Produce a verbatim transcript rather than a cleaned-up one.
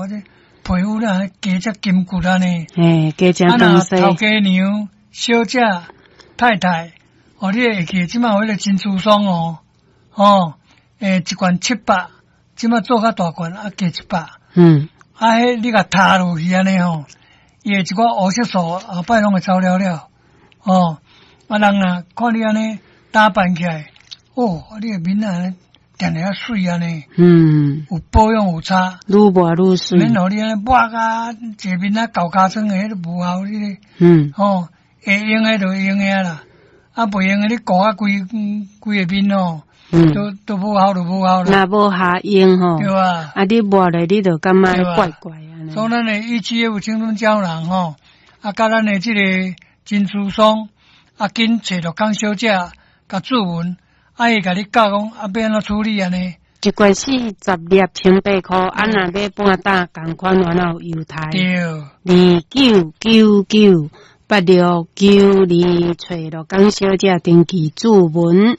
我這皮膚咧加遮金骨按呢。嘿，加誠啊，若東西。頭家娘、小姐、太太，哦，你會記這馬有彼個珍珠霜哦，哦，欸，一罐七百，這馬做較大罐，啊，加一百。嗯。啊，彼你共塗落去按呢吼，伊會一寡烏色素後擺攏會走了了，哦，啊人啊，看你按呢打扮起來，哦，你的面啊，定定較媠按呢，嗯，有保養有差，愈抹愈媠，免予你按呢抹甲一個面啊厚尻川的，彼都無效你咧，嗯，吼，會用的就會用的啦，啊，袂用的你顧啊規規個面吼，嗯，都都無效就無效啦。若無效用吼，對啊，啊，你抹咧，你就感覺怪怪按呢。所以咱的 E G F 青春膠囊吼，啊，佮咱的這個珍珠霜，啊，緊揣陸江小姐，共注文，啊，伊共你教講啊，欲按怎處理按呢？一罐四十粒千八箍，啊，若買半打仝款，還有猶太。對。二九九九八六九二，揣陸江小姐登記注文。